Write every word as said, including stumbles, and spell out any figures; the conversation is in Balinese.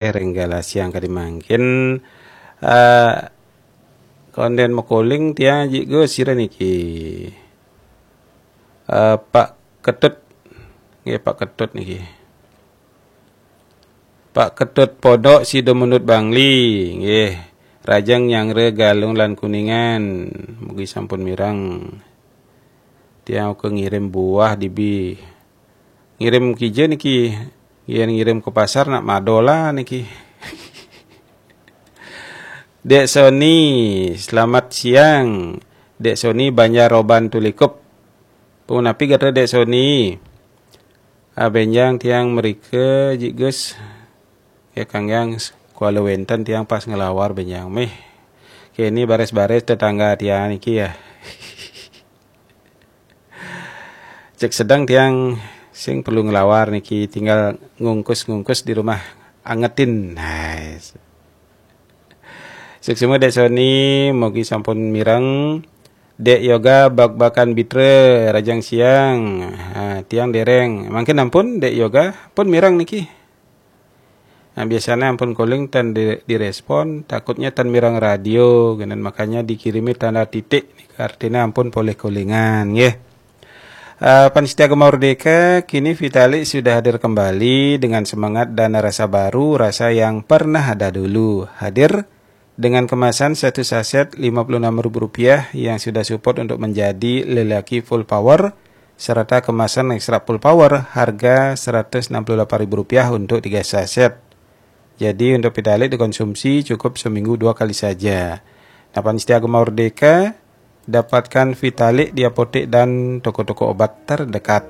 Renggala siang kadi mangkin. Eh, konden makoling tiang jik go sira niki. Eh, Pak Ketut. Nggih, Pak Ketut niki. Pak Ketut Podok Sidomunut Bangli, nggih. Rajang Nyangre Galung lan Kuningan. Mugi sampun mireng. Tiang uga ngirim buah dibi. Ngirim kija niki. Yen ngirim ke pasar nak madola niki. Dek Sony, selamat siang. Dek Sony Banjar Roban Tulikup. Punapi gatra Dek Sony? Ah, benjang tiang merika jik Gus. Ya kanggiang kuala wenten tiang pas ngelawar benjang meh. Kini baris-baris tetangga tiang niki ya. Cek sedang tiang sing perlu ngelawar niki, tinggal ngungkus-ngungkus di rumah angetin. Nice. Suksma Dek Sony, mugi sampun mireng. Dek Yoga bak-bakan bitra rajang siang. Ha, tiang dereng. Mangkin ampun Dek Yoga pun mireng niki. Nah, biasanya ampun calling tan di, direspon, takutnya tan mireng radio, genen makanya dikirimi tanda titik. Artinya ampun poleh callingan, nggih. Uh, Pan Setia Gema Merdeka, kini Vitalik sudah hadir kembali dengan semangat dan rasa baru, rasa yang pernah ada dulu. Hadir dengan kemasan satu saset lima puluh enam ribu rupiah yang sudah support untuk menjadi lelaki full power, serta kemasan ekstra full power harga seratus enam puluh delapan ribu rupiah untuk tiga saset. Jadi untuk Vitalik dikonsumsi cukup seminggu dua kali saja. Nah, Pan Setia Gema Merdeka, dapatkan Vitalik di apotek dan toko-toko obat terdekat.